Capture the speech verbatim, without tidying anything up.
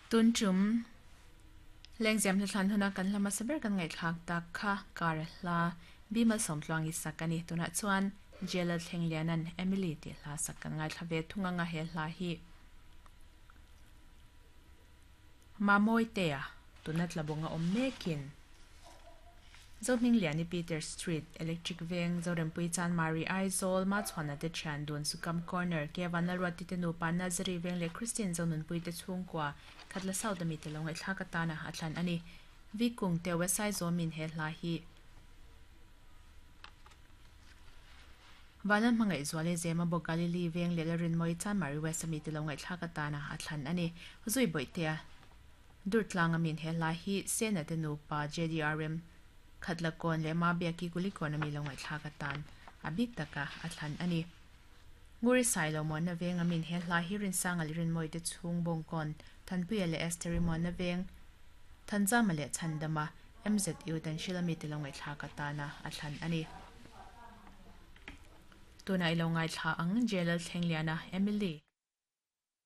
Tun tum lengzem hla huna kan hlama saber kan ngai thlak tak kha kar hla bimal somtluangi sakani tuna chuan Jelal Thlenglianan Emily ti hla sak kan ngai thlave thunga nga he hla hi mamoi tea tuna tlabonga om mekin Zohming Liani Peter Street Electric Veng Zorempui Chan Mari Aizawl ma chhuana te thian dun Sukam Corner Kevan Lalruati te nupa Nazari Veng leh Christian Zonunpui te chhungkua Khatla South ami te lo ngaihthlak atana a thlan ani Vikung te Wesai Zawmin he hla hi Valan hmangaih zuale Zema bawk Galili Veng leh Lalrinmawii Chan Mari West ami te lo ngaihthlak atana a thlan ani Zui Bawihtea Durtlang amin he hla hi Sena te nupa J D R M Khatla kawn leh ma biaki kuli kawn ami lo ngaihthlak atan a bik taka a thlan ani Nguri Sailo muanna veng amin he hla hi rinsanga leh rinmawii te chhung bawng kawn Thanpuia leh Esther-i muanna veng Thanzama leh Chhandama M Z U tan hril ami te lo ngaihthlak atana a thlan ani Tuna i lo ngaithla ang Jelal Thlengliana Emily.